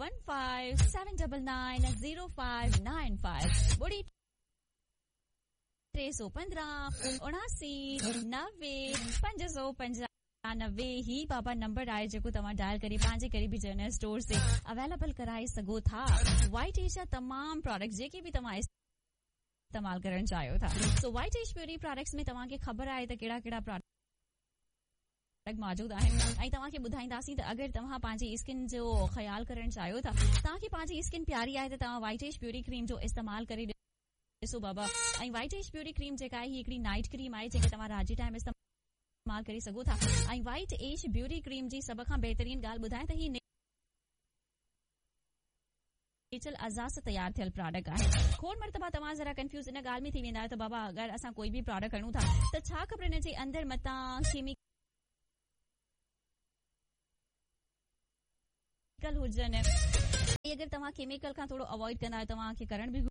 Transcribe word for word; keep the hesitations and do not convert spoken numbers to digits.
One five seven double nine zero five nine five ٻڙي ٽي سؤ پندرهن اڻاسي نوي پنج سؤ پنجانوي هي بابا نمبر آهي جيڪو توهان ڊائل ڪري پنهنجي قريبي جنرل اسٽور تي اويليبل ڪرائي سگهو ٿا. وائٽ ايش جا تمام پراڊڪٽس جيڪي به توهان استعمال ڪرڻ چاهيو ٿا. سو وائٽ ايش بيوٽي پراڊڪٽس ۾ توهان کي خبر آهي ته ڪهڙا ڪهڙا پراڊڪٽ موجود آهن ۽ توهان کي ٻڌائينداسين ته اگر توهان پنهنجي اسڪن جو خيال ڪرڻ چاهيو ٿا، توهان کي پنهنجي اسڪن پياري آهي ته توهان وائٽ ايش بيوٽي ڪريم جو استعمال ڪري ڏسو بابا. ۽ وائٽ ايش بيوٽي ڪريم جيڪا آهي هي هڪڙي نائٽ ڪريم آهي جنهن کي توهان رات جي ٽائيم استعمال ڪري سگهو ٿا. ۽ وائٽ ايش بيوٽي ڪريم جي سڀ کان بهترين ڳالهه ٻڌايان ته هي نيچرل اعضاء سان تيار ٿيل پراڊڪٽ آهي. کوڙ مرتبا توهان ذرا ڪنفيوز ان ڳالهه ۾ ٿي ويندا آهيو ته بابا اگر اسان ڪوئي به پراڊڪٽ کڻون ٿا ته ڇا خبر ان جي اندر متان ڪيميڪل هجن. اگر توهان ڪيميڪل کان ٿورو اوائڊ ڪندا آهيو، توهان کي ڪرڻ به